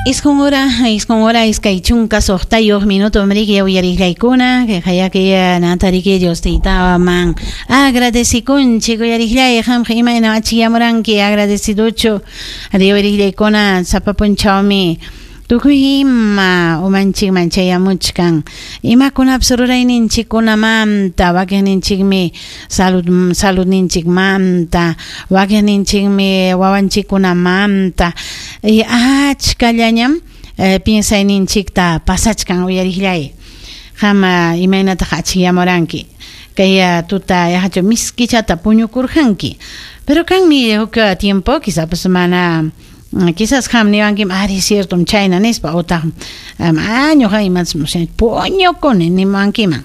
Isqun hora, isqun hora, iskay chunka suqtayuq minuto mriki uyariqllaykuna, kay natariki Dios taytaman agradecikunchik uyariqllay qamqa imayna achiyamuranki agradeciduchu ari uyariqllaykuna sapa punchawmi tukuy ima umanchikman chayamuchkan imakunapas rurayninchikkunamanta wakiqninchikmi salud saludninchikmanta wakiqninchikmi wawanchikkunamanta y achkallañam piensayninchikta pasachkan uyariqllay qam imaynataq achiyamuranki kay tuta yaqachu miskichata puñukurqanki pero kanmi huk tiempo quizás mana quizás qam niwankim ari ciertom chayna nispa utaq ñuqa imatas puñukuni niwankiman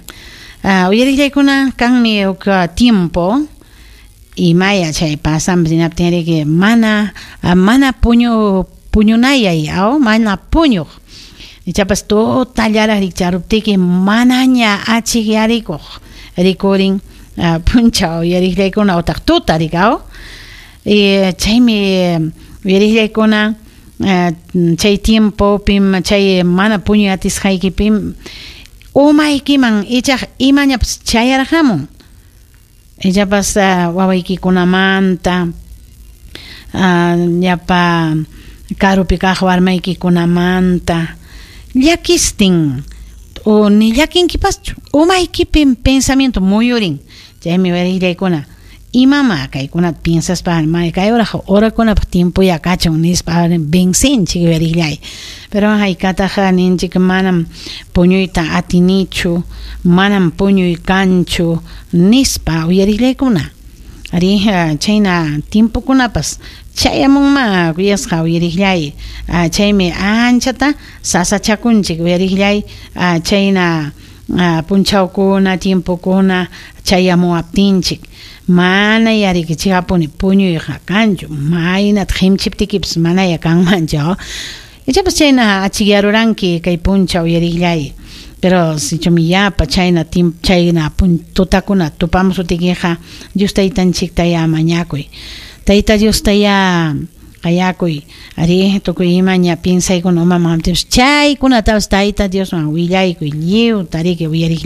uyariqllaykuna kanmi huk tiempo imaya chay pasanpas hinaptinriki mana mana puñunayay aw mana puñuq ichapas tutallaraq rikcharuptiki manaña achikyarikuq rikurin punchaw uyariqllaykuna utaq tuta rikaw y chaymi uyariqllaykuna chay tiempopim chay mana puñuy atisqaykipim umaykiman ichaq imañapas chayarqamun ichapas wawaykikunamanta llapa karupi kaq warmaykikunamanta llakistin o ni llakinkipaschu umaykipim pensamiento muyurin chaymi uyariqllaykuna imama kaykunata piensaspa kay horaqa orakunapaq tiempoya kachun nispa vencenchik uyariqllay pero hayk'ataq ninchik manam puñuyta atinichu manam puñuy kanchu nispa uyariqllaykuna ari chayna tiempokunapas chayamunma kuyasqa uyariqllay chaymi anchata sasachakunchik uyariqllay chayna punchawkuna tiempokuna chayamuwaptinchik mana yarikichikapuni puñuyqa kanchu maynata qimchiptikipas manaya kanmanchu ichapas chayna achikyaruranki kay punchaw uyariqllay pero sichumi yapa chayna chayna tutakuna tupamusutikiqa Dios taytanchiktaya mañakuy Tayta Diostaya qayakuy ari tukuy imaña piensaykuna umaman chaykunatapas Tayta Diosman willaykuy lliwta riki uyariq.